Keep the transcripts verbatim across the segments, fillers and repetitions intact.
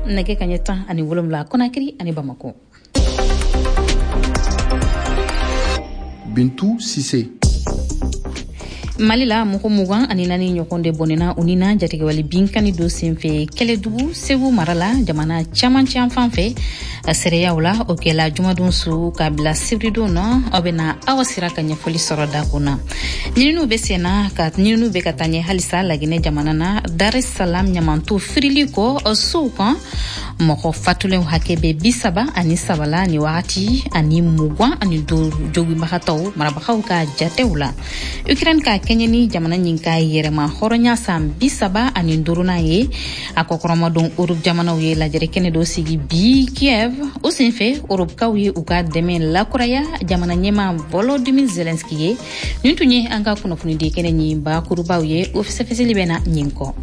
Nɛgɛ kaɲɛ tan ani wolonwula Conakry ani Bamako. Bintu Sise. Mali la, mɔgɔ mugan ani naani ɲɔgɔn de bɔnɛna u ni na jatigɛwale binkani dɔ senfɛ Kɛlɛdugu, Segu mara la, jamana camancɛ fan fɛ. Seereyaw la, o kɛla jumadon su ka bila sibiridon na. Aw bɛna Awa Sira ka ɲɛfɔli sɔrɔ da kun na. Ɲininiw bɛ senna ka ɲininiw bɛ ka taa ɲɛ halisa Laginɛ jamana na, Dar es Salaam ɲamanto firili kɔ sow kan. Mɔgɔ fatulenw hakɛ bɛ bi saba ani saba la ni wagati, ani mugan ani duuru joginbagatɔw, marabagaw ka jatew la. Ukraine ka kɛɲɛ ni jamana ɲin ka yɛrɛma hɔrɔnya san bi saba ani duurunan ye, a kɔkɔrɔmadon Europe jamanaw ye lajɛrɛ kɛnɛ dɔ sigi bi Kiev. O senfɛ, Europekaw ye u ka dɛmɛ lakuraya jamana ɲɛma Volodymyr Zelensky ye. Nin tun ye an ka kunnafonidi kɛnɛ ɲin bakurubaw ye. O fɛsɛfɛsɛli bɛ na ɲin kɔ.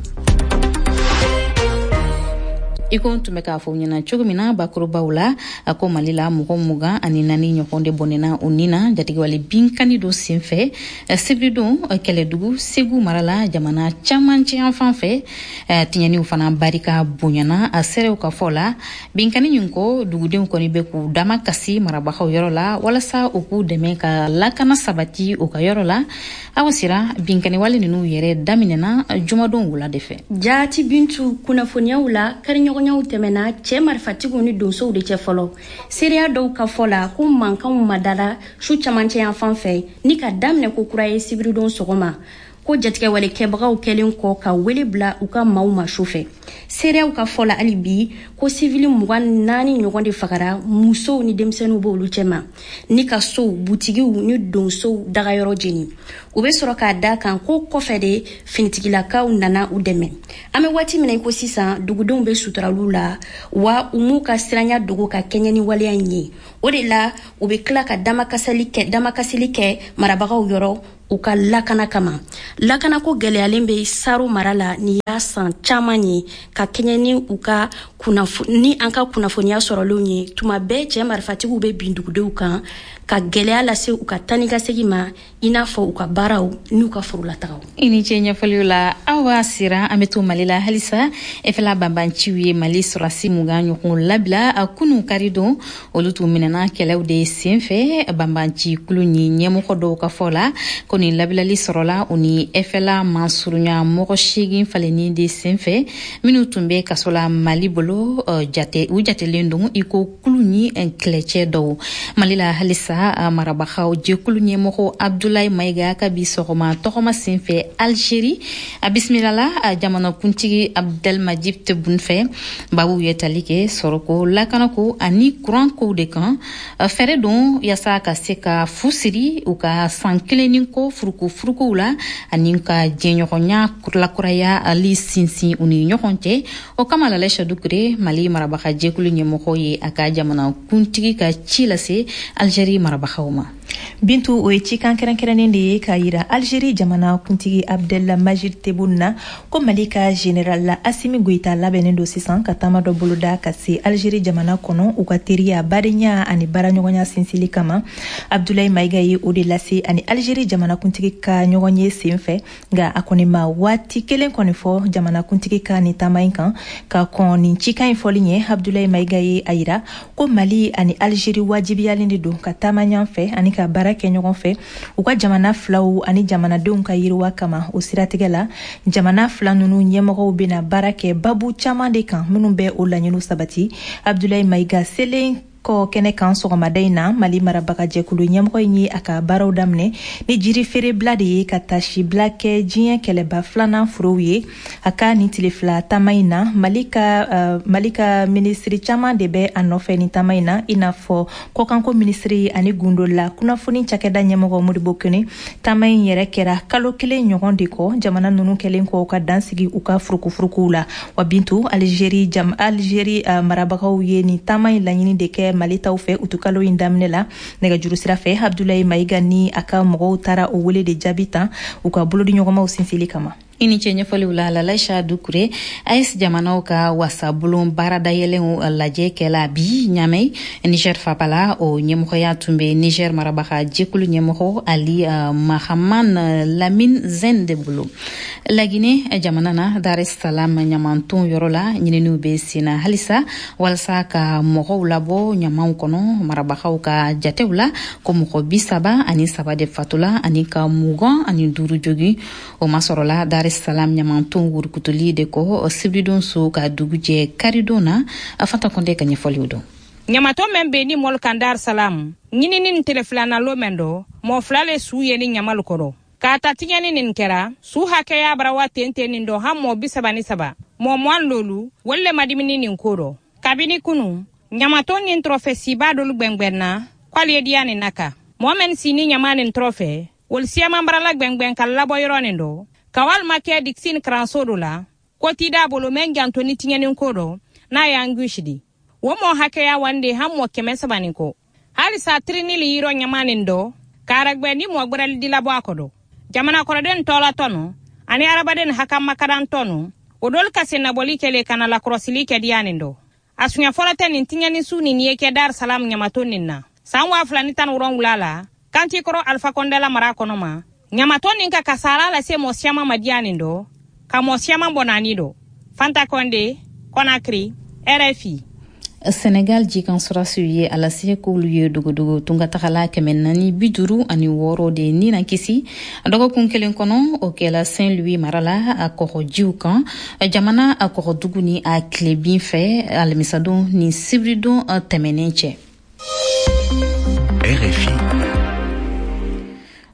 I ko n tun bɛ k'a fɔ ɲɛna cogo min na bakurubaw la, a ko Mali la, mɔgɔ mugan ani naani ɲɔgɔn de bɔnɛna u ni na jatigɛwale binkani dɔ senfɛ sibiridon Kɛlɛdugu, Segu mara la, jamana camancɛ yan fan fɛ. Tiɲɛniw fana barika bonyana. A seerew ka fɔ la, binkani ɲin kɔ, dugudenw kɔni bɛ k'u dama kasi marabagaw yɔrɔ la walasa u k'u dɛmɛ ka lakana sabati u ka yɔrɔ la. Awa Sira, binkaniwale ninnu yɛrɛ daminɛna jumadon wula de fɛ. Jaati Bintu, kunnafoniyaw la, kariɲɔgɔnyaw tɛmɛna cɛɛ marifatigiw ni donsow de cɛ fɔlɔ. Seereya dɔw ka fɔ la ko mankanw madara su camancɛ yan fan fɛ ni ka daminɛ ko kura ye sibiridon sɔgɔma, ko jatigɛwale kɛbagaw kɛlen kɔ ka wele bila u ka maaw ma su fɛ. Seereyaw ka fɔ la hali bi ko sivili mugan naani ɲɔgɔn de fagara, musow ni denmisɛnninw b'olu cɛma, ni ka sow, butigiw ni donsow dagayɔrɔ jeni. U bɛ sɔrɔ k'a da kan ko kɔfɛ de finitigilakaw nana u dɛmɛ. An bɛ waati min na i ko sisan, dugudenw bɛ suturaliw la wa u m'u ka siranya dogo ka kɛɲɛ ni waleya in ye. O de la u bɛ tila ka damakasili kɛ damakasili kɛ marabagaw yɔrɔ u ka lakana kama. Lakanako gɛlɛyalen bɛ Saro mara la ni y'a san caman ye. Ka kɛɲɛ ni u ka ni an ka kunnafoniya sɔrɔlenw ye, tuma bɛɛ cɛ marifatigiw bɛ bin dugudenw kan ka gɛlɛya lase u ka tani ka segin ma, i n'a fɔ u ka baaraw n'u ka forolatagaw. I ni ce ɲɛfɔliw la, Awa Sira. An bɛ to Mali la halisa. F L A banbanciw ye Mali sɔrɔsi mugan ɲɔgɔn labila a kunu kari don. Olu tun minɛna kɛlɛw de senfɛ. Banbanci kulu ni ɲɛmɔgɔ dɔw ka fɔ la ko nin labilali sɔrɔla u ni F L A mansurunya mɔgɔ seegin falenni de senfɛ, minnu tun bɛ kaso la Mali bolo. Jate u jatelen don i ko kulu ni kɛlɛcɛ dɔw. Mali la halisa, marabagaw jɛkulu ɲɛmɔgɔ Abdoulaye Mayiga ka bi sɔgɔma tɔgɔma senfɛ Algérie, a bisimilala jamanakuntigi Abdelmadjid Tebboune fɛ. Babuw ye tali kɛ sɔrɔko, lakanako ani kurankow de kan. Fɛɛrɛ don yaasa ka se ka fu siri u ka san kelen ni kɔ furuku furukuw la ani ka jɛɲɔgɔnya lakuraya ali sinsin u ni ɲɔgɔn cɛ. O kama, Lalɛ Dukure, Mali marabaga jɛkulu ɲɛmɔgɔ ye a ka jamanakuntigi ka ci lase Algérie marabagaw ma. Bintu, o ye cikan kɛrɛnkɛrɛnnen de ye k'a yira Algérie jamana kuntigi Abdelmajid Tebboune na ko Mali ka général Assimi Goïta labɛnnen don sisan ka taama dɔ boloda ka se Algérie jamana kɔnɔ, u ka teriya, badenya ani baaraɲɔgɔnya sinsili kama. Abdoulaye Mayiga ye o de lase ani Algérie jamanakuntigi ka ɲɔgɔn ye sen fɛ, nka a kɔni ma waati kelen kɔni fɔ jamanakuntigi ka nin taama in kan. Ka kɔn nin cikan in fɔli ɲɛ, Abdoulaye Mayiga ye a yira ko Mali ani Algérie wajibiyalen de don ka taama ɲɔgɔn fɛ ani ka baara kɛ ɲɔgɔn fɛ u ka jamana filaw ani jamanadenw ka yiriwa kama. O siratigɛ la, jamana fila nunu ɲɛmɔgɔw bɛna baara kɛ babu caman de kan minnu bɛ o laɲiniw sabati. Abdoulaye Mayiga selen kɔ kɛnɛ kan sɔgɔmada in na, Mali marabagajɛkulu ɲɛmɔgɔ in ye a ka baaraw daminɛ ni jiri feerebila de ye ka tasibila kɛ diɲɛ kɛlɛba filanan forow ye. A ka nin tile fila taama in na, Mali ka uh, mali ka minisiri caman de bɛ a nɔfɛ nin taama in na, i n'a fɔ kɔkanko minisiri ani gundola kunnafoni cakɛda ɲɛmɔgɔ Modibo Kone. Taama in yɛrɛ kɛra kalo kelen ɲɔgɔn de kɔ, jamana nunu kɛlen kɔ ka dansigi u ka furukufurukuw la. Wa Bintu, Algérie jam Algérie uh, marabagaw ye nin taama in laɲini de kɛ Mali taw fɛ utukalo in daminɛ la nɛgɛjuru sira fɛ. Abdoulaye Mayiga ni a ka mɔgɔw taara o wele de jaabi tan u ka bolodiɲɔgɔnmaw sinsili kama. I ni ce ɲɛfɔliw la, Lalaisa Dukure. A E S jamanaw ka wasabulon baaradayɛlɛnw lajɛ kɛla bi Ɲamɛ, Niger faba la. O ɲɛmɔgɔya tun bɛ Niger marabaga jɛkulu ɲɛmɔgɔ Ali uh, Mahaman Lamin Zen de bolo. Lagine jamana na, Dar es Salam ɲamanton yɔrɔ la, ɲininiw bɛ senna halisa walasa ka mɔgɔw labɔ ɲamanw kɔnɔ. Marabagaw ka jatew la, ko mɔgɔ bi saba ani saba de fatula ani ka mugan ani duuru jogi. O masɔrɔla Dar es Salam ɲamanton wurukutuli de kɔ sibiridon so ka dugu jɛ karidon na. Fanta Kɔnde ka ɲɛfɔliw dɔn. Ɲamatɔ mɛn be ni mɔlu kan Dar Salam, ɲinini nin tele filana lo mɛn dɔ, mɔɔ fila le suu ye ni ɲamalu kɔrɔ. K'a ta tiɲɛni nin kɛra, suu hakɛya bara wa ten ten nin dɔ han mɔɔ bi saba ni saba, mɔɔ muwan lolu wolu le madimini nin ko rɔ. Kabini kunu, ɲamatɔ nin tɔrɔfɛ siba dolu gwɛngwɛnna k'alu ye diya nin naka. Mɔɔ mɛn si ni ɲama nin tɔrɔfɛ, wolu siyaman barala gwɛngwɛn ka labɔ yɔrɔ nin dɔ ka walima kɛ Dixinn karanso do la ko tida bolo mɛn janto ni tiɲɛni ko dɔ n'a y'an gusi di. Wo mɔ hakɛya wande han mɔ kɛmɛ saba nin kɔ. Halisa tirini li yirɔ ɲama nin dɔ k'aragwɛ ni mɔ gwɛrɛli di labɔ a kɔdɔ. Jamana kɔrɔden tɔɔla tɔnu ani arabaden hakamakadan tɔnu, o dolu ka sennabɔli kɛle ka na lakɔrɔsili kɛ diya nin dɔ. A suɲɛ fɔlɔ tɛ nin tiɲɛni su nin ye kɛ Dar Salam ɲamato nin na. San waa fila ni tan wolonwula la, kanti kɔrɔ Alpha Condé la mara kɔnɔ ma, ɲamatɔ nin ka kasara lase mɔ siyaman ma diya nin dɔ ka mɔ siyaman bɔ naani dɔ. Fanta Kɔnde, Conakry, R F I. Senegal jikan sɔrɔsiw ye a lase k'olu ye dogodogo tungatagala kɛmɛ naani bi duuru ani wɔɔrɔ de ni na kisi dɔgɔkun kelen kɔnɔ. O kɛla Saint Louis mara la, a kɔgɔjiw kan, jamana a kɔgɔdugu ni a tilebin fɛ, alamisadon ni sibiridon tɛmɛnen cɛ. R F I.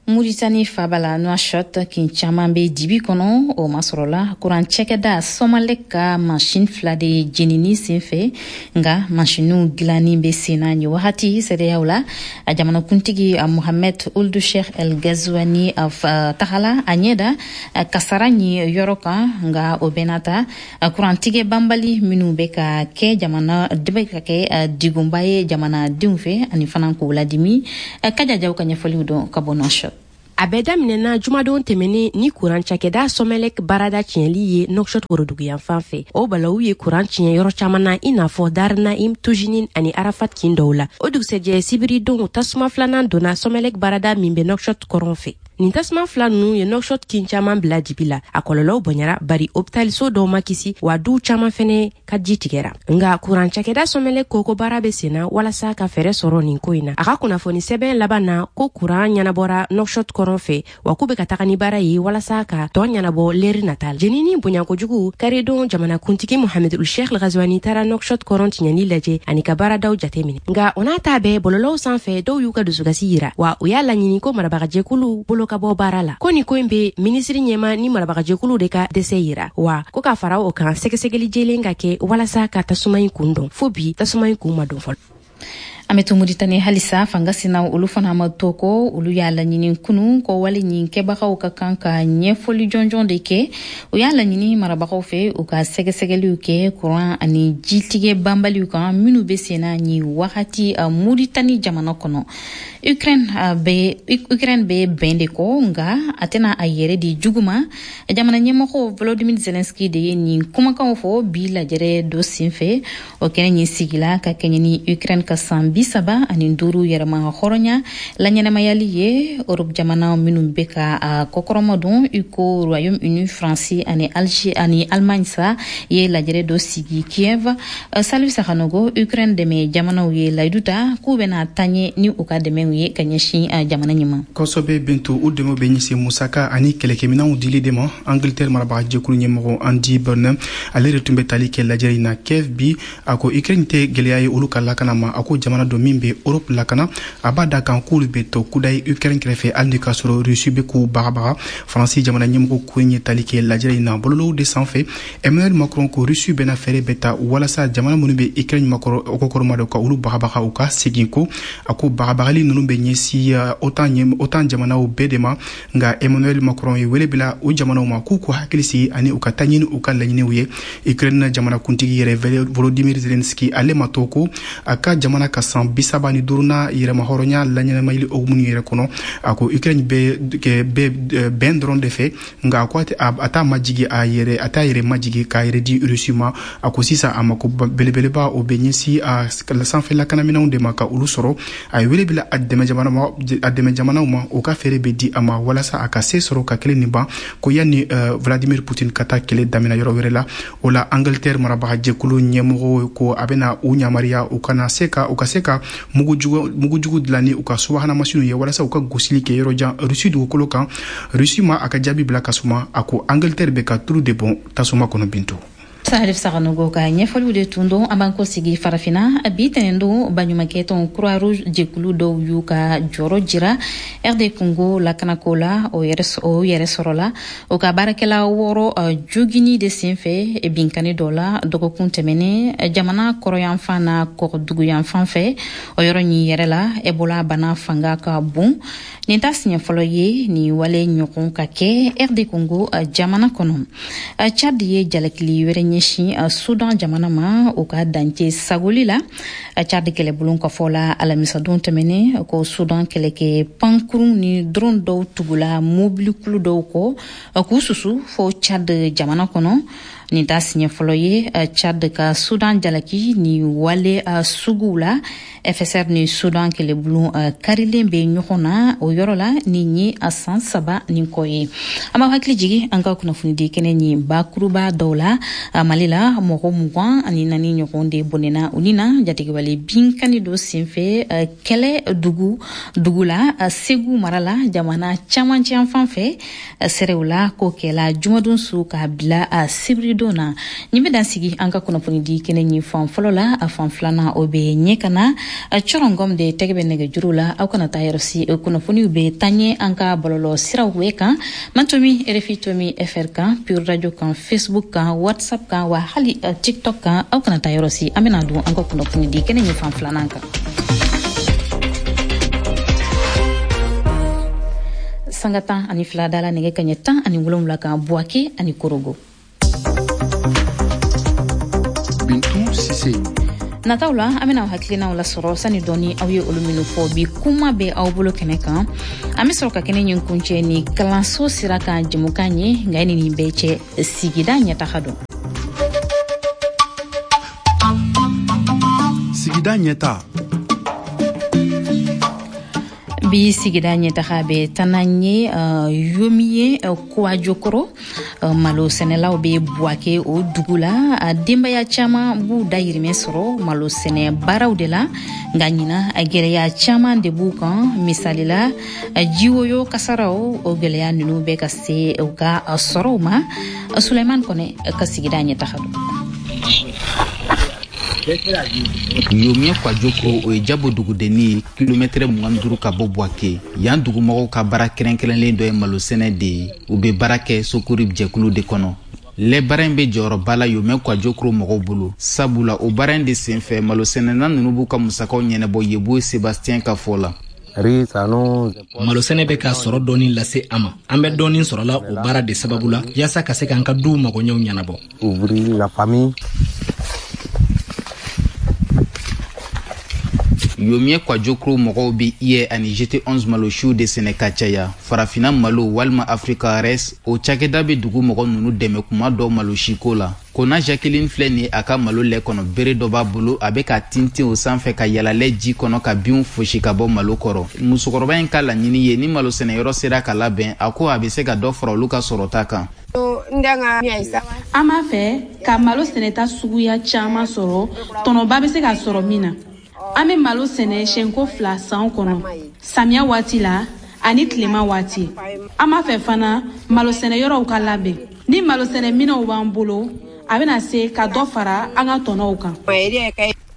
Muritani faba la Nouakchott, kin caman be dibi kɔnɔ. O masɔrɔla kuran cɛkɛda Somelec ka masini fila de jenini sen fɛ, nga masiniw dilanni be senna nin wagati. Sɛdɛyaw la, a jamanakuntigi Mohamed Ould Cheikh El Gazouani tagala a ɲɛ da kasara ɲi yɔrɔ kan. Nga o bɛɛ n'a ta, kurantigɛ banbali minw bɛ ka kɛ jamana bɛ ka kɛ digunba ye jamanadenw fɛ ani fana k'o ladimi. Kajajaw ka ɲɛfɔliw dɔn ka bɔ Nouakchott. A bɛɛ daminɛna jumadon tɛmɛnen ni kuran cakɛda Somelec baarada tiɲɛli ye Nouakchott woroduguyanfan fɛ. O balawu ye kuran tiɲɛ yɔrɔ caman na, i n'a fɔ Darnaim, Tujinin ani Arafat kin dɔw la. O dugusɛjɛ sibiridon, tasuma filanan donna Somelec baarada min bɛ Nouakchott kɔrɔn fɛ. Nin tasuma fila nunu ye Nouakchott kin caman bila dibi la. A kɔlɔlɔw bonyara, bari hopitaliso dɔw ma kisi, wa duw caman fɛnɛ ka ji tigɛra. Nga kuran cakɛda Somelec ko ko baara be senna walasa ka fɛɛrɛ sɔrɔ nin ko in na. A ka kunnafoni sɛbɛn laban na ko kuran ɲɛnabɔra Nouakchott kɔrɔn fɛ, wa k'u be ka taga ni baara ye walasa ka tɔɔ ɲɛnabɔ leri nata la. Jenini bonya kojugu, karidon jamanakuntigi Mohamed Ould Cheikh Ghazouani taara Nouakchott kɔrɔn tiɲɛni lajɛ ani ka baaradaw jateminɛ. Nga o n'a ta bɛɛ, bɔlɔlɔw sanfɛ, dɔw y'u ka dusukasi yira, wa u y'a laɲini ko marabagajɛkulu bolo ka bɔ baara la, ko nin ko in be minisiri ɲɛma ni marabagajɛkulu de ka dɛsɛ yira, wa ko ka fara o kan, sɛgɛsɛgɛli jelen ka kɛ walasa ka tasuma in kun dɔn. Fo bi, tasuma in kun ma dɔn fɔlɔ. An bɛ to Muritani halisa. Fanga sinaw, olu fana ma to kɔ. Olu y'a laɲini kunu ko wale ɲin kɛbagaw ka kan ka ɲɛfɔli jɔnjɔn de kɛ. O y'a laɲini marabagaw fɛ, u ka sɛgɛsɛgɛliw kɛ kuran ani jitigɛ banbaliw kan minnu bɛ senna nin wagati Muritani jamana kɔnɔ. Ukraine bɛ Ukraine bɛ bɛn de kɔ, nka a tɛna a yɛrɛ di jugu ma. Jamana ɲɛmɔgɔ Volodymyr Zelensky de ye nin kumakanw fɔ bi lajɛrɛ dɔ senfɛ. O kɛnɛ ɲin sigila ka kɛɲɛ ni Ukraine ka san bi saba ani duuru yɛrɛma hɔrɔnya laɲɛnamayali ye. Europe jamana minnu bɛ ka a kɔkɔrɔma don, i ko Royaume Uni, Faransi ani Alger ani Allemagne sa ye lajɛrɛ dɔ sigi Kiev. Salif Sakanogo, Ukraine dɛmɛ jamanaw ye layidu ta k'u bɛna taɲɛ ni u ka dɛmɛw ye ka ɲɛsin jamana ɲin ma. Kosɛbɛ Bintu, u dɛmɛ bɛ ɲɛsin musaka ani kɛlɛkɛminɛnw dili de ma. Angleterre marabaga jɛkulu ɲɛmɔgɔ Andy Burnham, ale de tun bɛ tali kɛ lajɛrɛ in na Kiev bi. A ko Ukraine tɛ gɛlɛya ye olu ka lakana ma. A ko jamana dɔ min bɛ Europe lakana, a b'a da kan k'olu bɛ to kudayi Ukraine kɛrɛfɛ, hali ni k'a sɔrɔ Russie bɛ k'u bagabaga. Faransi jamana ɲɛmɔgɔ ko in ye tali kɛ lajɛrɛ in na bɔlɔlɔw de sanfɛ. Emmanuel Macron ko Russie bɛna fɛɛrɛ bɛɛ ta walasa jamana minnu bɛ Ukraine makɔrɔ kɔkɔrɔma dɔn ka olu bagabaga u ka segin ko. A ko bagabagali ninnu bɛ ɲɛsin OTAN OTAN jamanaw bɛɛ de ma. Nka Emmanuel Macron ye wele bila o jamanaw ma k'u k'u hakili sigi ani u ka taa ɲini u ka laɲiniw ye. Ukraine jamanakuntigi yɛrɛ Volodymyr Zelensky, ale ma to ko a ka jamana ka san bisaba ni duurunan yɛrɛmahɔrɔnya laɲɛnamayali hukumu yɛrɛ kɔnɔ. A ko Ukraine bɛ bɛ bɛn dɔrɔn de fɛ, nka a ko a t'a majigi a yɛrɛ a t'a yɛrɛ majigi k'a yɛrɛ di Russie ma. A ko sisan a mako belebeleba o bɛ ɲɛsin a sanfɛ lakanaminɛnw de ma ka olu sɔrɔ. A ye wele bila a dɛmɛ jamana a dɛmɛ jamanaw ma, o ka fɛɛrɛ bɛ di a ma walasa a ka se sɔrɔ ka kɛlɛ nin ban, ko yanni Vladimir Poutine ka taa kɛlɛ daminɛ yɔrɔ wɛrɛ la. O la Angleterre marabaga jɛkulu ɲɛmɔgɔw ko a bɛna u yamaruya u kana se ka u ka se ka mugujugu mugujugu dilan ni u ka subahana masiniw ye walasa u ka gosili kɛ yɔrɔ jan Russie dugukolo kan. Russie ma a ka jaabi bila ka suma. A ko Angleterre bɛ ka tulu de bɔn tasuma kɔnɔ. Bintu. Salif Saganogo ka ɲɛfɔliw de tun don. An b'an kɔ sigi Farafinna. Bi tɛnɛn don, baɲumankɛtɔn Croix Rouge jɛkulu dɔw y'u ka jɔrɔ jira R D Congo lakanako la. O yɛrɛ sɔrɔla o ka baarakɛla wɔɔrɔ jogini de senfɛ binkani dɔ la dɔgɔkun tɛmɛnen jamana kɔrɔyanfan na kɔgɔduguyanfan fɛ. O yɔrɔ ɲi yɛrɛ la, Ebola bana fanga ka bon. Nin ta siɲɛ fɔlɔ ye nin wale ɲɔgɔn ka kɛ R D Congo jamana kɔnɔ. Chad ye jalakili wɛrɛ ɲɛsin Sudan jamana ma o ka dancɛ sagoli la. Chad kɛlɛbulon ka fɔ la, alamisadon tɛmɛnen, ko Sudan kɛlɛkɛ pankurun ni drone dɔw tugula mobilikulu dɔw kɔ k'u susu fo Chad jamana kɔnɔ. Nin ta siɲɛ fɔlɔ ye Chad ka Sudan jalaki ni wale suguw la. F S R ni Sudan kɛlɛbulon karilen bɛ ɲɔgɔn na o yɔrɔ la nin ye a san saba nin kɔ ye. An b'aw hakili jigi an ka kunnafonidi kɛnɛ nin bakuruba dɔw la. Mali la, mɔgɔ mugan ani naani ɲɔgɔn de bɔnɛna u ni na jatigɛwale binkani dɔ senfɛ kɛlɛ dugu dugu la Segu mara la, jamana camancɛ fan fɛ. Sɛrɛw la, ko kɛla jumadon su k'a bila sibiridon na. Nin bɛ dan sigi an ka kunnafonidi kɛnɛ nin fan fɔlɔ la. A fan filanan, o bɛ ɲɛ ka na. Cɔrɔngɔm de tɛgɛ bɛ nɛgɛjuru la. Aw kana taa yɔrɔ si, kunnafoniw bɛ taa ɲɛ an ka bɔlɔlɔ siraw bɛɛ kan: Mantomi R F I Tomi F R kan, Pure Radio kan, Facebook kan, WhatsApp kan, wa hali TikTok kan. Aw kana taa yɔrɔ si, an bɛna don an ka kunnafoni di kɛnɛ nin fan filanan kan. Sanga tan ani fila dala nɛgɛ kaɲɛ tan ani wolonwula kan Buwake ani Korogo. Bintu Sise. Nataw la, an bɛna hakilinaw lasɔrɔ sani dɔɔni aw ye olu minnu fɔ bi kuma bɛ aw bolo kɛnɛ kan. An bɛ sɔrɔ ka kɛnɛ ɲin kuncɛ ni kalanso sira kan jɛmukan ye. Nka ni nin bɛɛ cɛ, sigida ɲɛtaga don. Sigida ɲɛta. Bi sigida ɲɛtaga bɛ taa ye uh, yomi ye uh, Kuwajokoro. uh, malo sɛnɛlaw bɛ Buwake o dugu la. A denbaya caman b'u dayirimɛ sɔrɔ malo sɛnɛ baaraw de la, nka ɲina a gɛlɛya caman de b'u kan. Misali la, jiwoyo kasaraw, o gɛlɛya ninnu bɛ ka se u ka sɔrɔw ma. Suleiman Kɔnɛ ka sigida ɲɛtaga don. Yomiyɛ Kwajokoro, o ye Jabo dugudenni ye, kilomɛtɛrɛ mugan duuru ka bɔ Buwake. Yan dugumɔgɔw ka baara kɛrɛnkɛrɛnlen dɔ ye malosɛnɛ de ye. U bɛ baara kɛ Sokori jɛkulu de kɔnɔ. Lɛ baara in bɛ jɔyɔrɔba la Yomɛ Kwajokoro mɔgɔw bolo, sabula o baara in de senfɛ, malosɛnɛna ninnu b'u ka musakaw ɲɛnabɔ. Yebo Sebastien ka fɔ la: Malosɛnɛ bɛ ka sɔrɔ dɔɔni lase an ma. An bɛ dɔɔni sɔrɔla o baara de sababu la yaasa ka se k'an ka duw magoɲɛw ɲɛnabɔ. Yomiyɛ Kwajokoro mɔgɔw bɛ I Ɛ ani G T onze malosiw de sɛnɛ ka caya. Farafina malo walima Africa Res, o cakɛda bɛ dugu mɔgɔ ninnu dɛmɛ kuma dɔw malosiko la. Kona Jacqueline filɛ nin ye, a ka malo lɛ kɔnɔ bere dɔ b'a bolo, a bɛ ka tintin o sanfɛ ka yala lɛ ji kɔnɔ ka binw fosi ka bɔ malo kɔrɔ. Musokɔrɔba in ka laɲini ye ni malo sɛnɛyɔrɔ sera ka labɛn, a ko a bɛ se ka dɔ fara olu ka sɔrɔta kan. An b'a fɛ ka malo sɛnɛta suguya caman sɔrɔ, tɔnɔba bɛ se ka sɔrɔ min na. An bɛ malo sɛnɛ siɲɛko fila san kɔnɔ, samiya waati la ani tilema waati. An b'a fɛ fana malo sɛnɛyɔrɔw ka labɛn. Ni malo sɛnɛminɛnw b'an bolo, a bɛna se ka dɔ fara an ka tɔnɔw kan.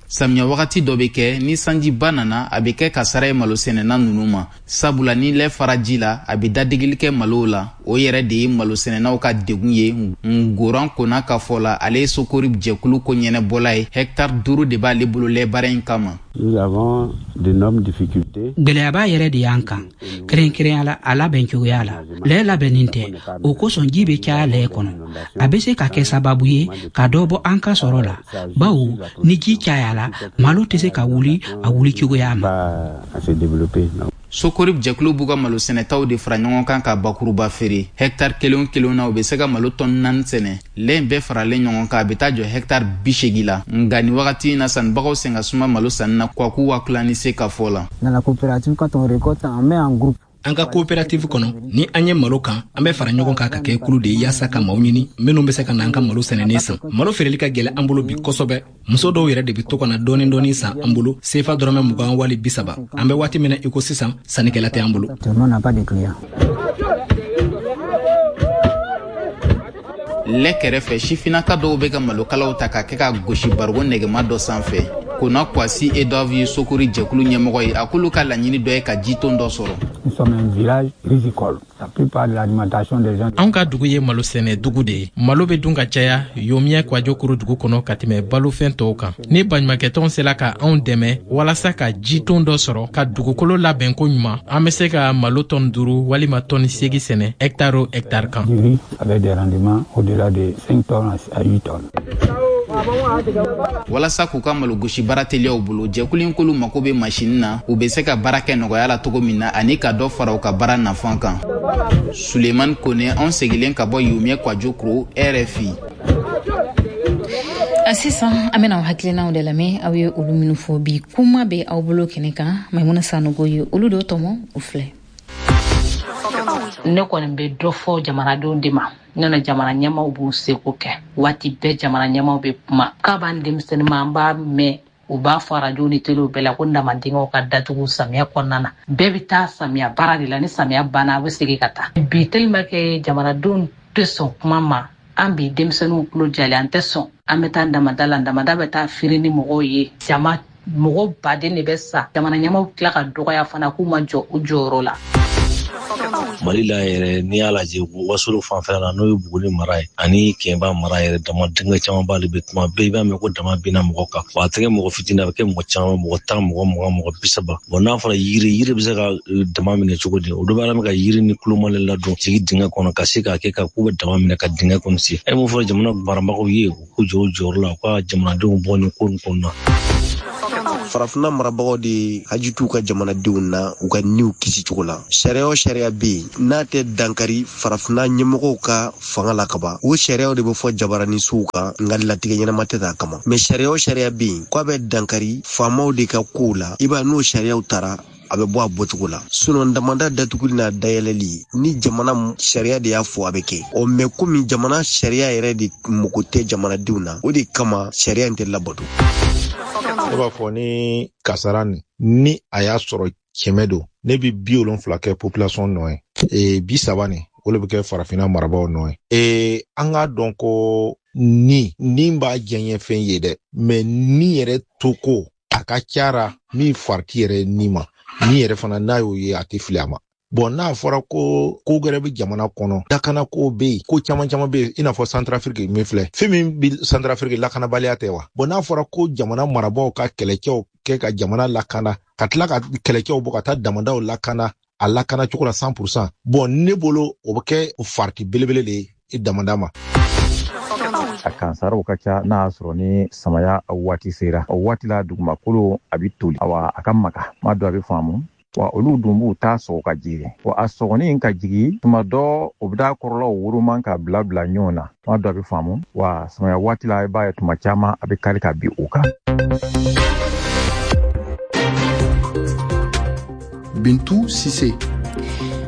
Samiya wagati dɔ bɛ kɛ, ni sanjiba nana, a bɛ kɛ kasara ye malosɛnɛna ninnu ma, sabula ni lɛ fara ji la, a bɛ dadegeli kɛ malow la. O yɛrɛ de ye malosɛnɛnaw ka degun ye. Ngoran Kona ka fɔ la, ale ye Sokori jɛkulu ko ɲɛnɛbɔla ye. Hɛkitari duuru de b'ale bolo lɛ baara in kama. Gwɛlɛyaba yɛrɛ de y'an kan, kɛrɛnkɛrɛnya la a labɛn cogoya la. Lɛ labɛnnin tɛ, o kosɔn ji bɛ caya lɛ kɔnɔ. A bɛ se ka kɛ sababu ye ka dɔ bɔ an ka sɔrɔ la, bawo ni ji cayala, malo tɛ se ka wuli a wuli cogoya ma. Sokori jɛkulu b'u ka malo sɛnɛtaw de fara ɲɔgɔn kan ka bakuruba feere. Hɛkitari kelen o kelen na, u bɛ se ka malo tɔni naani sɛnɛ. Lɛ in bɛɛ faralen ɲɔgɔn kan, a bɛ taa jɔ hɛkitari bi seegin la. Nka nin wagati in na, sannibagaw sen ka suma malo sanni na Kwaku Wakulani se ka fɔ la. An ka coopérative kɔnɔ, ni an ye malo kan, an bɛ fara ɲɔgɔn kan ka kɛ kulu de ye yaasa ka maaw ɲini minnu bɛ se ka na an ka malo sɛnɛnen san. Malo feereli ka gɛlɛn an bolo bi kosɛbɛ. Muso dɔw yɛrɛ de bɛ to ka na dɔɔni dɔɔni san an bolo, sefa dɔrɔmɛ mugan wali bi saba. An bɛ waati min na i ko sisan, sannikɛla tɛ an bolo. Lɛ kɛrɛfɛ, sifinnaka dɔw bɛ ka malokalaw ta ka kɛ ka gosi barigon nɛgɛma dɔ sanfɛ. Kona Kwasi Edouard ye Sokori jɛkulu ɲɛmɔgɔ ye. A k'olu ka laɲini dɔ ye ka jiton dɔ sɔrɔ. Anw ka dugu ye malo sɛnɛ dugu de ye. Malo bɛ dun ka caya Yomiɛ Kwajokoro dugu kɔnɔ ka tɛmɛ balofɛn tɔw kan. Ni baɲumankɛtɔn sera ka anw dɛmɛ walasa ka jiton dɔ sɔrɔ ka dugukolo labɛn ko ɲuman, an bɛ se ka malo tɔni duuru walima tɔni seegin sɛnɛ hɛkitari o hɛkitari kan. Walasa k'u ka malogosi baara teliya u bolo, jɛkulu in k'olu mako bɛ masini na, u bɛ se ka baara kɛ nɔgɔya la cogo min na ani ka dɔ fara u ka baara nafan kan. Sulemani Kone, anw segilen ka bɔ Yomiɛ Kwajokoro, R F I. Sisan an bɛna aw hakilinaw de lamɛn, aw ye olu minnu fɔ bi. Kuma bɛ aw bolo kɛnɛ kan, Maimuna Sanogo ye olu dɔ tɔmɔ, o filɛ. Ne kɔni bɛ dɔ fɔ jamanadenw de ma. Nana jamana ɲɛmaaw b'u seko kɛ. Waati bɛɛ jamana ɲɛmaaw bɛ kuma. K'a b'an denmisɛnnin ma, an b'a mɛn, u b'a fɔ arajo ni telew bɛɛ la ko damadenkɛw ka datugu samiya kɔnɔna na. Bɛɛ bɛ taa samiya baara de la, ni samiya banna a bɛ segin ka taa. Bi tellement que jamanadenw tɛ sɔn kuma ma, an bi denmisɛnninw tulo jalen, an tɛ sɔn. An bɛ taa damada la, damada bɛ taa feere ni mɔgɔw ye. Jama mɔgɔ baden de bɛ sa. Jamana ɲɛmaaw tila ka dɔgɔya fana k'u ma jɔ u jɔyɔrɔ la. Mali la yɛrɛ, n'i y'a lajɛ Wasolo fanfɛla la, n'o ye Buguni mara ye ani Kɛnba mara yɛrɛ, dama denkɛ caman b'ale bɛ tuma bɛɛ i b'a mɛn ko dama binna mɔgɔ kan. Wa a tɛ kɛ mɔgɔ fitinin, a bɛ kɛ mɔgɔ caman, mɔgɔ tan, mɔgɔ mugan, mɔgɔ bi saba. Bon, n'a fɔra yiri, yiri bɛ se ka dama minɛ cogo di? Olu b'a ka yiri ni kulomale ladon jigin dingɛ kɔnɔ ka se k'a kɛ ka k'u bɛ dama minɛ ka dingɛ kɔnɔ se. E mun fɔra jamana marabagaw ye, u k'u jɔ u jɔyɔrɔ la, u ka jamanadenw bɔ nin ko nin kɔnɔna. Farafinna marabagaw de haji t'u ka jamanadenw na u ka niw kisi cogo la. Sariya o sariya bɛ yen n'a tɛ dankari farafinna ɲɛmɔgɔw ka fanga la kaban, o sariyaw de bɛ fɔ jabaranisow kan, nka latigɛ ɲɛnama tɛ t'a kama. Mɛ sariya o sariya bɛ yen k'a bɛ dankari faamaw de ka kow la, i b'a n'o sariyaw taara a bɛ bɔ a bɔcogo la. Sinon damanda datuguli n'a dayɛlɛli, ni jamana sariya de y'a fɔ a bɛ kɛ. Ɔ mɛ komi jamana sariya yɛrɛ de mako tɛ jamanadenw na, o de kama sariya in tɛ labato. Ne b'a fɔ ni kasara nin, ni a y'a sɔrɔ kɛmɛ don, ne bi bi wolonfila kɛ population nɔ ye, e bi saba nin o de bɛ kɛ farafinna marabaaw nɔ ye. E an k'a dɔn ko ni ni b'a diɲɛ fɛn ye dɛ, mɛ ni yɛrɛ to ko a ka ca min farati yɛrɛ ni ma, ni yɛrɛ fana n'a y'o ye a tɛ fili a ma. Bon, n'a fɔra ko ko wɛrɛ bɛ jamana kɔnɔ, lakanako bɛ yen, ko caman caman bɛ yen, i n'a fɔ Centrafrique min filɛ, fɛn min bɛ Centrafrique lakanabaliya tɛ wa? Bon, n'a fɔra ko jamana marabaaw ka kɛlɛcɛw kɛ ka jamana lakana, ka tila ka kɛlɛcɛw bɔ ka taa damadaw lakana a lakana cogo la cent pour cent, bon ne bolo o bɛ kɛ farati belebele de ye damada ma. A kansaraw ka ca n'a y'a sɔrɔ ni samaya waati sera. O waati la dugumakolo a bɛ toli, awa a ka maga, ma dɔn a bɛ faamu. Wa olu dun b'u ta sɔgɔ ka jigin, wa a sɔgɔni ka jigin tuma dɔ o bɛ taa kɔrɔlaw woroma ka bila bila ɲɔgɔn na, tuma dɔ a bɛ faamu. Wa samaya waati la i b'a ye tuma caman a bɛ kari ka bin o kan. Bintu Sise.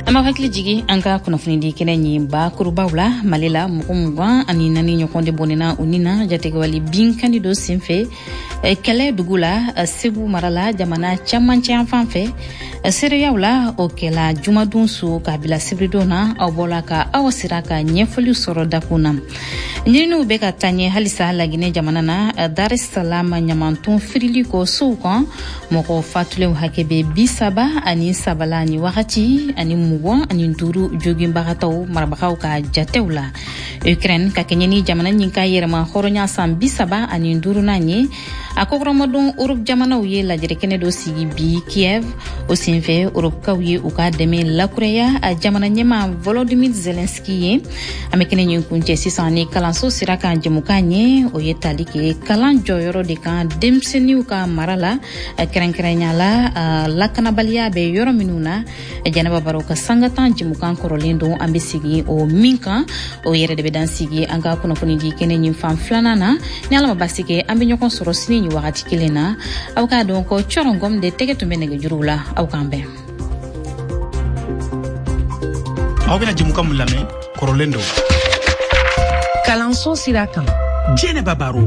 An b'aw hakili jigin an ka kunnafonidi kɛnɛ ɲi bakurubaw la. Mali la, mɔgɔ mugan ani naani ɲɔgɔn de bɔnɛna u ni na jatigɛwale binkanni dɔ senfɛ kɛlɛ dugu la Segu mara la jamana camancɛ yan fan fɛ. Seereyaw la, o kɛla jumadon su k'a bila sibiridon na. Aw bɔla ka aw sera ka ɲɛfɔli sɔrɔ dakun na. Ɲininiw bɛ ka taa ɲɛ halisa Laginɛ jamana na, Dar es Salaam ɲamanton firili kɔ sow kan, mɔgɔ fatulenw hakɛ bɛ bi saba ani saba la ni wagati ani mugan mugan ani duuru joginbagatɔw marabagaw ka jatew la. Ukraine ka kɛɲɛ ni jamana ɲin ka yɛrɛma hɔrɔnya san bi saba ani duurunan ye, a kɔkɔrɔmadon Europe jamanaw ye lajɛrɛkɛnɛ dɔ sigi bi Kiev. O senfɛ Europekaw ye u ka dɛmɛ lakuraya a jamana ɲɛma Volodymyr Zelensky ye. An bɛ kɛnɛ ɲin kuncɛ sisan ni kalanso sira kan jɛmukan ye, o ye tali kɛ kalan jɔyɔrɔ de kan denmisɛnninw ka mara la, kɛrɛnkɛrɛnya la lakanabaliya bɛ yɔrɔ minnu na. Jɛnɛba Baro ka sanga tan jɛmukan kɔrɔlen don, an bɛ sigi o min kan, o yɛrɛ de bɛ dan sigi an ka kunnafoni di kɛnɛ ɲin fan filanan na. Ni Ala ma basi kɛ, an bɛ ɲɔgɔn sɔrɔ sini nin wagati kelen na. Aw k'a dɔn ko cɔrɔngɔm de tɛgɛ tun bɛ nɛgɛjuruw la. Aw k'an bɛn. Aw bɛna jɛmukan mun lamɛn kɔrɔlen don kalanso sira kan. Jɛnɛba Baro.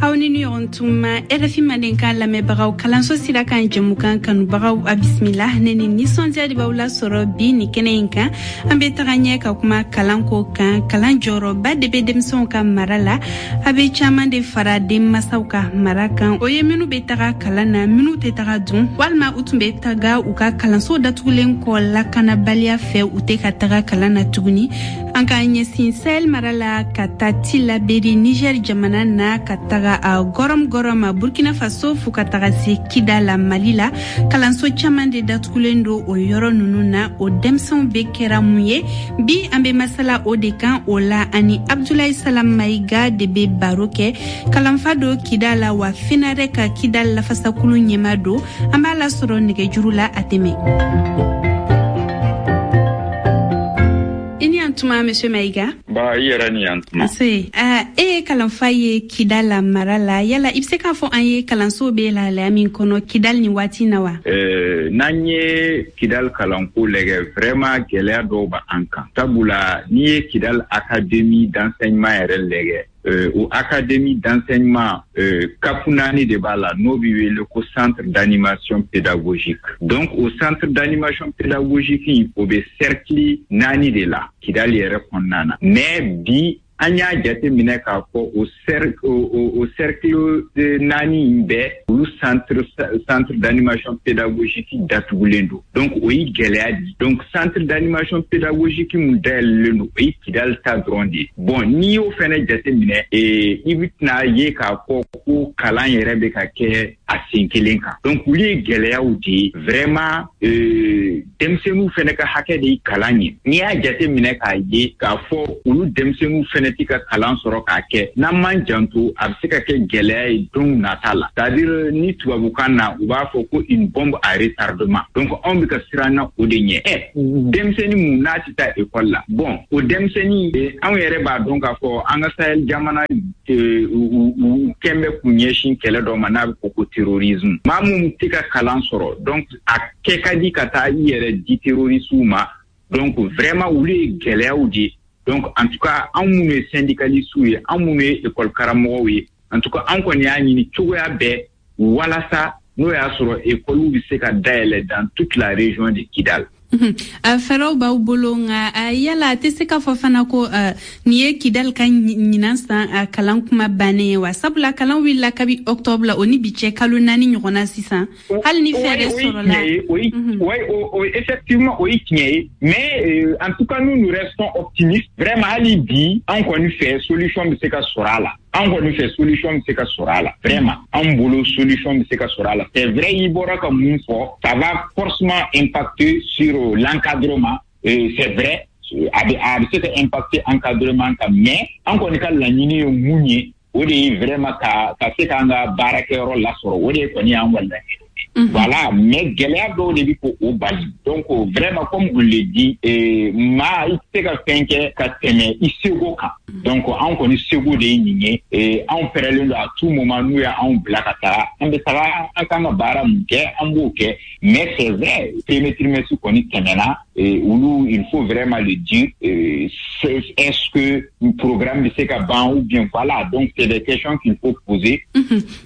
Aw ni ɲɔgɔn tuma R F I Mandenkan lamɛnbagaw, kalanso sira kan jɛmukan kanubagaw, a bisimila. Ne ni nisɔndiya de b'aw lasɔrɔ bi ni kɛnɛ in kan. An bɛ taga ɲɛ ka kuma kalanko kan. Kalan jɔyɔrɔba de bɛ denmisɛnw ka mara la, a bɛ caman de fara denmasaw ka mara kan. O ye minnu bɛ taga kalan na, minnu tɛ taga dun, walima u tun bɛ taga u ka kalanso datugulen kɔ lakanabaliya fɛ, u tɛ ka taga kalan na tuguni. An k'an ɲɛsin Sahel mara la ka taa Tillabéri Niger jamana na, ka taga a Gorom Gorom Burkina Faso, fo ka taga se Kidal la Mali la. Kalanso caman de datugulen don o yɔrɔ ninnu na. O denmisɛnw bɛ kɛra mun ye bi? An bɛ masala o de kan. O la ani Abdoulaye Salam Maïga de bɛ baro kɛ, kalanfa don Kidal la, wa FENADEC ka Kidal lafasakulu ɲɛma don. An b'a lasɔrɔ nɛgɛjuru la a tɛmɛ. I ni yan tuma, Monsieur Maïga. Ba, i yɛrɛ ni yan tuma. Ase, e ye kalanfa ye Kidal la mara la. Yala i bɛ se k'a fɔ an ye kalanso bɛ lahalaya min kɔnɔ Kidal ni waati na wa? Euh, n'an ye Kidal kalanko lajɛ, vraiment gɛlɛya dɔw b'an kan. Sabula n'i ye Kidal académie d'enseignement yɛrɛ lajɛ, Euh, o académie d'enseignement euh, kafu naani de b'a la, n'o bɛ wele ko centre d'animation pédagogique. Donc o centre d'animation pédagogique in, o bɛ cercle naani de la Kidal yɛrɛ kɔnɔna na. Mais bi an y'a jate minɛ k'a fɔ o cercle o, o cercle naani in bɛɛ, olu centre centre d'animation pédagogique datugulen don. Donc o ye gɛlɛya di. Donc centre d'animation pédagogique mun dayɛlɛlen don, o ye Kidal ta dɔrɔn de ye. Bon, n'i y'o fɛnɛ jate minɛ, ee i bɛ tɛna ye k'a fɔ ko kalan yɛrɛ bɛ ka kɛ a sen kelen kan. Donc olu ye gɛlɛyaw de ye vraiment. euh, denmisɛnninw fɛnɛ ka hakɛ de ye kalan ye. N'i y'a jate minɛ k'a ye k'a fɔ olu denmisɛnninw fɛnɛ tɛ ka kalan sɔrɔ k'a kɛ, n'an m'an janto, a bɛ se ka kɛ gɛlɛya ye don nata la. C'est-à-dire ni tubabukan na u b'a fɔ ko une bombe à retardement. Donc anw bɛ ka siran na o de ɲɛ. Ɛ denmisɛnnin mun n'a tɛ taa école la, bon o denmisɛnnin, anw yɛrɛ b'a dɔn k'a fɔ an ka Sahel jamana u kɛn bɛ k'u ɲɛsin kɛlɛ dɔ ma n'a bɛ fɔ ko terrorisme. Maa mun tɛ ka kalan sɔrɔ, donc a kɛ ka di ka taa i yɛrɛ di terroristew ma. Donc vraiment olu ye gɛlɛyaw de ye. Donc en tout cas anw minnu ye syndicalistes ye, anw minnu ye école karamɔgɔw ye, en tout cas an kɔni y'a ɲini cogoya bɛɛ walasa n'o y'a sɔrɔ école bɛ se ka dayɛlɛ dans toute la région de Kidal. Fɛɛrɛw b'aw bolo, nka yala a tɛ se k'a fɔ fana ko nin ye Kidal ka ɲinan san kalan kuma bannen ye wa? Sabula kalan wulila kabi octobre la, o ni bi cɛ kalo naani ɲɔgɔnna sisan, hali ni fɛɛrɛ sɔrɔla. Oui, oui, effectivement o ye tiɲɛ ye, mais en tout cas nous nous restons optimistes vraiment. Hali bi an kɔni fɛ solution bɛ se ka sɔrɔ a la. An kɔni fɛ solution bɛ se ka sɔrɔ a la vraiment. An bolo solution bɛ se ka sɔrɔ a la. C'est vrai, i bɔra ka mun fɔ, ça va forcément impacter sur l'encadrement. euh, c'est vrai, a bɛ a bɛ se ka impacter encadrement kan, mais an kɔni ka laɲini ye mun ye, o de ye vraiment ka ka se k'an ka baarakɛyɔrɔ lasɔrɔ. O de ye kɔni y'an ka laɲini. Voilà, mais gɛlɛya dɔw de bɛ k'o bali. Donc vraiment, comme on le dit, maa i tɛ se ka fɛn kɛ ka tɛmɛ i seko kan. Donc anw kɔni seko de ye nin ye. Anw pɛrɛlen don à tout moment, n'u y'anw bila ka taga, an bɛ taga, an kan ka baara mun kɛ, an b'o kɛ. Mais c'est vrai, premier trimestre kɔni tɛmɛna, olu il faut vraiment le dire, est-ce que programme bɛ se ka ban ou bien voilà. Donc c'est des questions qu'il faut poser.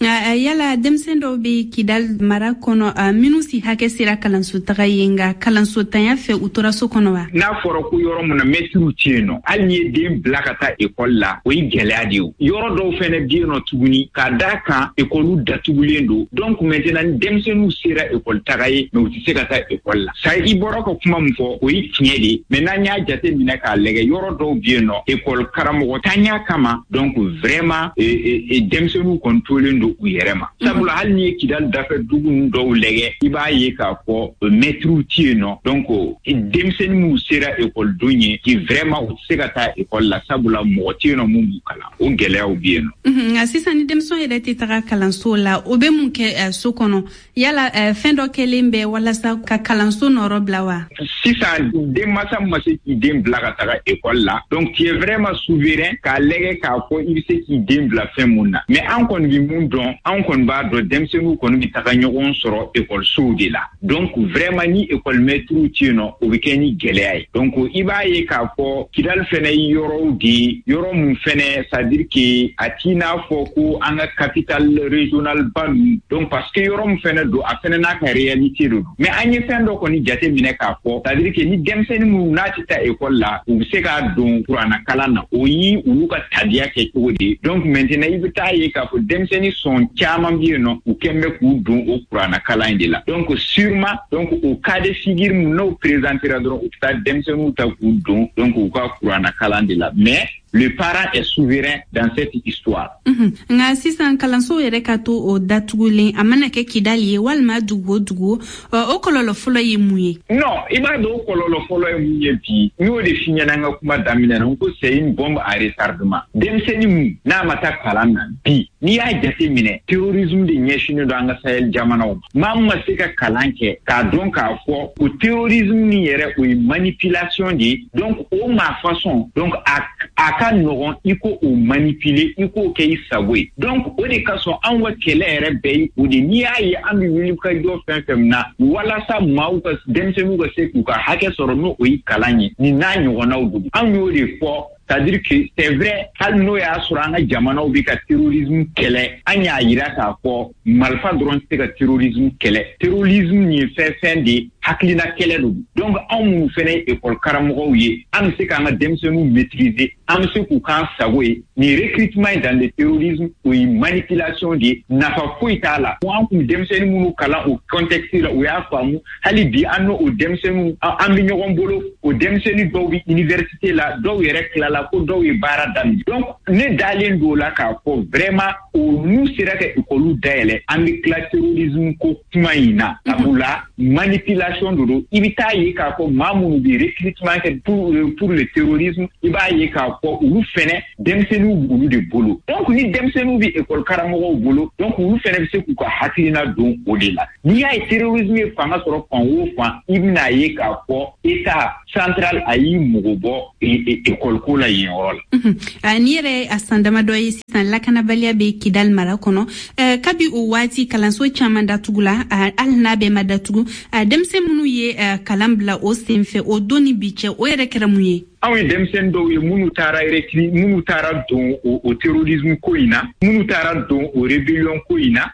Yala denmisɛn dɔw bɛ Kidal mara kɔnɔ minnu si hakɛ sera kalanso taga ye, nka kalanso tanya fɛ u tora so kɔnɔ wa? N'a fɔra ko yɔrɔ mun na mɛtiriw tɛ yen nɔ, hali n'i ye den bila ka taa ekɔli la, o ye gɛlɛya de ye. Yɔrɔ dɔw fɛnɛ bɛ yen nɔ tuguni, k'a d'a kan ekɔliw datugulen don. Donc maintenant ni denmisɛnninw sera ekɔli taga ye, mais u tɛ se ka taa ekɔli la. Sa i bɔra ka kuma min fɔ, o ye tiɲɛ de ye, mais n'an y'a jate minɛ k'a lajɛ, yɔrɔ dɔw bɛ yen nɔ ekɔli karamɔgɔ tanya kama, donc vraiment denmisɛnninw kɔni tolen don u yɛrɛ ma. Sabula hali n'i ye Kidali dafɛ dugu ninnu dɔw lajɛ, i b'a ye k'a fɔ mɛtiriw tɛ yen nɔ. Donc denmisɛnnin minnu sera ekɔlidon ye, qui vraiment u tɛ se ka taa ekɔli la, sabula mɔgɔ tɛ yen nɔ mun b'u kalan. O gɛlɛyaw bɛ yen nɔ. Nka sisan ni denmisɛnw yɛrɛ tɛ taga kalanso la, o bɛ mun kɛ so kɔnɔ? Yala fɛn dɔ kɛlen bɛ walasa ka kalanso nɔrɔ bila wa? Sisan denmansa ma se k'i den bila ka taga ekɔli la, donc tu es vraiment souverain k'a lajɛ k'a fɔ i bɛ se k'i den bila fɛn mun na. Mais an kɔni bɛ mun dɔn, an kɔni b'a dɔn denmisɛnninw kɔni bɛ taga ɲɔgɔn sɔrɔ ekɔlisow de la. Donc vraiment ni ekɔli mɛtiriw tɛ yen nɔ, o bɛ kɛ ni gɛlɛya ye. Donc i b'a ye k'a fɔ Kidali fɛnɛ ye yɔrɔw de ye, yɔrɔ mun fɛnɛ, c'est à dire que a t'i n'a fɔ ko an ka capitale régionale ba ninnu. Donc parce que yɔrɔ min fɛnɛ don, a fɛnɛ n'a ka réalité de don. Mais an ye fɛn dɔ kɔni jate minɛ k'a fɔ, c'est à dire que ni denmisɛnnin minnu n'a tɛ taa ekɔli la, u bɛ se k'a don kuranna kalan na, o ye olu ka tabiya kɛ cogo de ye. Donc maintenant i bɛ taa ye k'a fɔ denmisɛnnin sɔn caman bɛ yen nɔ, u kɛn bɛ k'u don o kuranna kalan in de la. Donc sûrement, donc o cas de figure mun n'o présentera dɔrɔn, u bɛ taa denmisɛnninw ta k'u don donc u ka kuranna kalan de la. Mais le parent est souverain dans cette histoire. Nka sisan kalanso yɛrɛ ka to o datugulen, a mana kɛ Kidali ye walima dugu o dugu, o kɔlɔlɔ fɔlɔ ye mun ye? Non, i b'a dɔn o kɔlɔlɔ fɔlɔ ye mun ye bi, n y'o de f'i ɲɛna n ka kuma daminɛ na, n ko c'est une bombe à retardement. Denmisɛnnin mun n'a ma taa kalan na bi, n'i y'a jate minɛ, terrorisme de ɲɛsinnen don an ka Sahel jamanaw ma. Maa min ma se ka kalan kɛ k'a dɔn k'a fɔ o terrorisme nin yɛrɛ, o ye manipulation de ye. Donc o maa façon, donc a a ka nɔgɔn i ko o manipuler, i k'o kɛ i sago ye. Donc o de kasɔn anw ka kɛlɛ yɛrɛ bɛɛ ye o de. N'i y'a ye an bɛ wuli ka jɔ fɛn fɛn na walasa maaw ka denmisɛnninw ka se k'u ka hakɛ sɔrɔ, n'o o ye kalan ye, nin n'a ɲɔgɔnnaw don. Anw y'o de fɔ. C'est-à-dire que c'est vrai, hali n'o y'a sɔrɔ an ka jamanaw bɛ ka terrorisme kɛlɛ, an y'a yira k'a fɔ marifa dɔrɔn tɛ se ka terrorisme kɛlɛ. Terrorisme ye fɛn fɛn de ye, hakilina kɛlɛ don. Donc anw minnu fɛnɛ ye ekɔli karamɔgɔw ye, an bɛ se k'an ka denmisɛnninw maîtriser, an bɛ se k'u k'an sago ye. Nin recrutement in dans le terrorisme, o ye manipulation de ye, nafa foyi t'a la. An kun denmisɛnnin minnu kalan o contexte la, u y'a faamu. Hali bi an n'o o denmisɛnninw an bɛ ɲɔgɔn bolo. O denmisɛnnin dɔw bɛ université la, dɔw yɛrɛ tilala, ko dɔw ye baara daminɛ. Donc ne dalen don o la k'a fɔ vraiment o n'u sera ka ekɔliw dayɛlɛ, an bɛ tila terrorisme ko kuma in na. Sabula manipulation de don. I bɛ taa ye k'a fɔ maa minnu bɛ recrutement kɛ pour pour le terrorisme, i b'a ye k'a fɔ olu fɛnɛ denmisɛnninw b'olu de bolo. Donc ni denmisɛnninw bɛ ekɔli karamɔgɔw bolo, donc olu fɛnɛ bɛ se k'u ka hakilina don o de la. N'i y'a ye terrorisme ye fanga sɔrɔ fan o fan, i bɛna ye k'a fɔ état central a y'i mago bɔ ekɔli ko la yen yɔrɔ la. Ni yɛrɛ a san damadɔ ye sisan lakanabaliya bɛ Kidali mara kɔnɔ, kabi o waati kalanso caman datugula, hali n'a bɛɛ ma datugu, denmisɛn minnu ye kalan bila o senfɛ o don ni bi cɛ, o yɛrɛ kɛra mun ye? Anw ye denmisɛnnin dɔw ye minnu taara recru minnu taara don o terrorisme ko in na, minnu taara don o rébellion ko in na,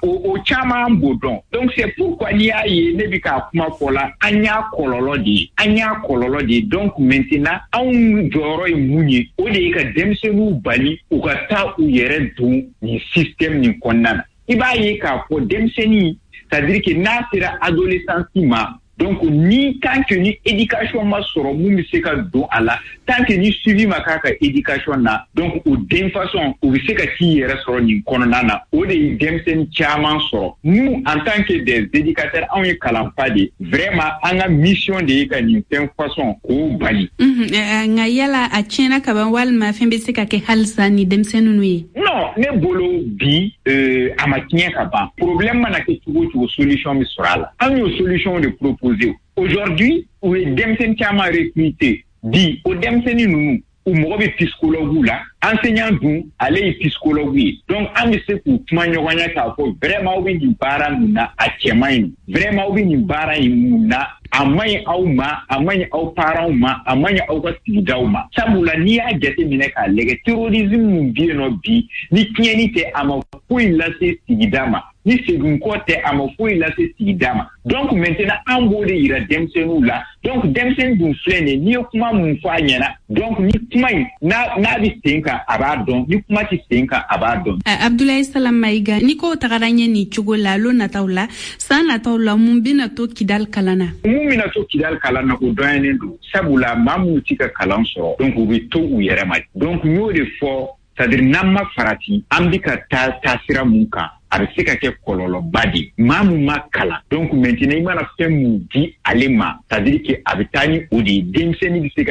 o o caman b'o dɔn. Donc c'est pourquoi n'i y'a ye ne bɛ k'a kuma fɔ la, an y'a kɔlɔlɔ de ye, an y'a kɔlɔlɔ de ye. Donc maintenant anw jɔyɔrɔ ye mun ye? O de ye ka denmisɛnninw bali u ka taa u yɛrɛ don nin système nin kɔnɔna na. I b'a ye k'a fɔ denmisɛnnin, c'est-à-dire que n'a sera adolescence ma, donc ni tant que ni éducation ma sɔrɔ mun bɛ se ka don a la, tant que ni suivi ma k'a ka éducation na, donc o den façon o bɛ se ka t'i yɛrɛ sɔrɔ nin kɔnɔna na. O de ye denmisɛnnin caman sɔrɔ. Nous en tant que des éducateurs, anw ye kalanfa de ye, vraiment an ka mission de ye ka nin fɛn façon k'o bali. Nka yala a tiɲɛna kaban walima fɛn bɛ se ka kɛ halisa ni denmisɛnnin ninnu ye? Non, ne bolo bi euh, a ma tiɲɛ ka ban. Problème mana kɛ cogo o cogo, solution bɛ sɔrɔ a la. An y'o solution de proposer. Aujourd'hui, u ye denmisɛnnin caman recruter bi, o denmisɛnnin ninnu u mago bɛ psychologue la, enseignant dun ale ye psychologue ye. Donc an bɛ se k'u kuma ɲɔgɔn ɲɛ k'a fɔ vraiment aw bɛ nin baara mun na, a cɛ man ɲi, vraiment aw bɛ nin baara in mun na, a man ɲi aw ma, a man ɲi aw parents ma, a man ɲi aw ka sigidaw ma. Sabula n'i y'a jateminɛ k'a lajɛ, terrorisme mun bɛ yen nɔ bi, ni tiɲɛni tɛ, a ma foyi lase sigida ma. Ni segin kɔ tɛ, a ma foyi lase sigida ma. Donc maintenant, an b'o de yira denmisɛnninw la. Donc denmisɛnnin dun filɛ nin ye, n'i ye kuma mun fɔ a ɲɛna, donc ni kuma in n'a n'a bɛ sen kan, a b'a dɔn. Ni kuma tɛ sen kan, a b'a dɔn. Abdoulaye Salam Maïga, ni kow tagara ɲɛ nin cogo la, lon nataw la, san nataw la, mun bɛna to Kidal kalan na? Mun bɛna to Kidal kalan na, o dɔnyalen don, sabula maa minnu ti ka kalan sɔrɔ, donc u bɛ to u yɛrɛ ma. Donc n y'o de fɔ, c'est à dire n'an ma farati, an bɛ ka taa taasira mun kan, a bɛ se ka kɛ kɔlɔlɔba de ye. Maa mun ma kalan, donc maintenant i mana fɛn mun di ale ma, c'est à dire que a bɛ taa ni o de ye. Denmisɛnnin bɛ se ka